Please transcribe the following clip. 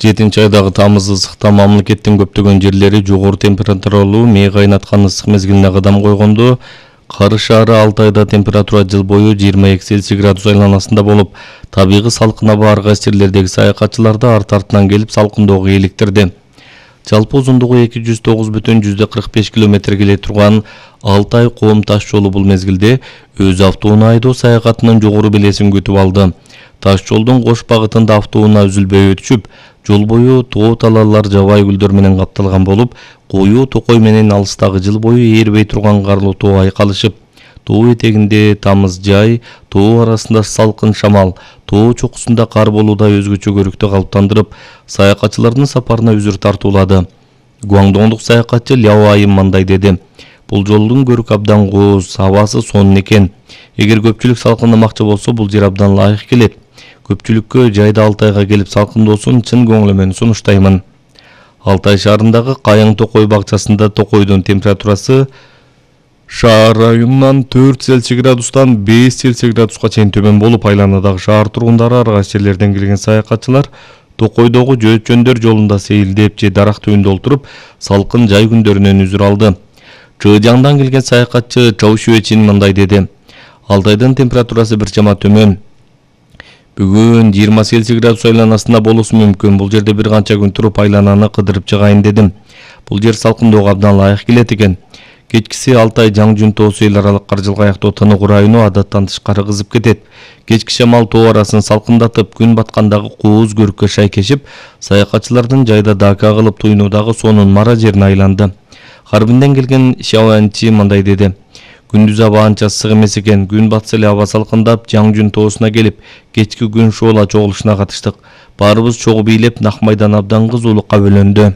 7 айдагы тамыз ысыкта мамлекеттин көптөгөн жерлери жогору температуралуу мээ кайнаткан ысык мезгилине кадам койгондо, Карыш шаары 6 айда температура жыл бою 22 Цельсий градус айланасында болуп, табигый салкын аба ар кайсы жерлердеги саякатчыларды арт-артынан келип салкындоого eeliktirdi. Жалпы узундугу 209,45 км келе турган Алтай Коом таш жолу бул мезгилде өз автоунаа айдоо саякатынын жогору белесин күтүп алды. Таш жолдун кош багытында автоунаа үзүлбөй өтүшүп, жол бою тоо талаалар жабай гүлдөр менен капталган болуп, коюу токой менен алыстагы жыл бою ээрбей турган карлуу тоо айкалышып, тоо этегинде тамыз жай, тоо арасында салкын шамал, тоо чокусунда кар болууда өзгөчө көрүктү калыптандырып, саякатчылардын сапарына үзүр тартуулады. Гуаңдоңдук саякатчы Ляо Айым мындай деди: "Бул жолдун көрүк абдан кооз, абасы сонун экен. Эгер көпчүлүк салкындамакчы болсо, бул жер абдан ылайык келет. Көпчүлүккө жайда Алтайга келип салкындоосун чын көңүлүмөн сунуштаймын." Алтай шаарындагы Кайың Токой бакчасында токойдун температурасы шаар районунан 4 Цельсий градустан 5 Цельсий градуска чейин төмөн болуп, айланадагы шаар тургундары ар кайсы жерлерден келген саякатчылар токойдогу жөөчөндөр жолунда сейилдеп же дарак түбүндө олтуруп, салкын жай күндөрүнөн үзүр алды. Чыжаңдан келген саякатчы Чоу Шуэчин мындай деди: "Алтайдын температурасы бир чама төмөн. Бүгүн 20 Цельсий градус айланасында болушу мүмкүн. Бул жерде бир канча күн туруп айлананы кыдырып чыгайын дедим. Бул жер салкындоого абдан ылайык келет экен." Кечкиси Алтай Жаңжүн тоосу эл аралык кар жылгаяктоо тыныгуу району адаттан тышкары кызып кетет. Кечки шамал тоо арасын салкындатып, күн баткандагы кооз көрүккө шайкешип, саякатчылардын жайда дака кылып туйнуудагы сонун мара жерине айланды. Харбинден келген Шаоанчи мындай деди: "Күндүз аба анча ысык эмес экен. Күн батса эле аба салкындап, Жаңжүн тоосуна келип, кечки күн шоола чогулушуна катыштык. Баарыбыз чогуу бийлеп, Нак майдан абдан кызуулукка бөлөндү."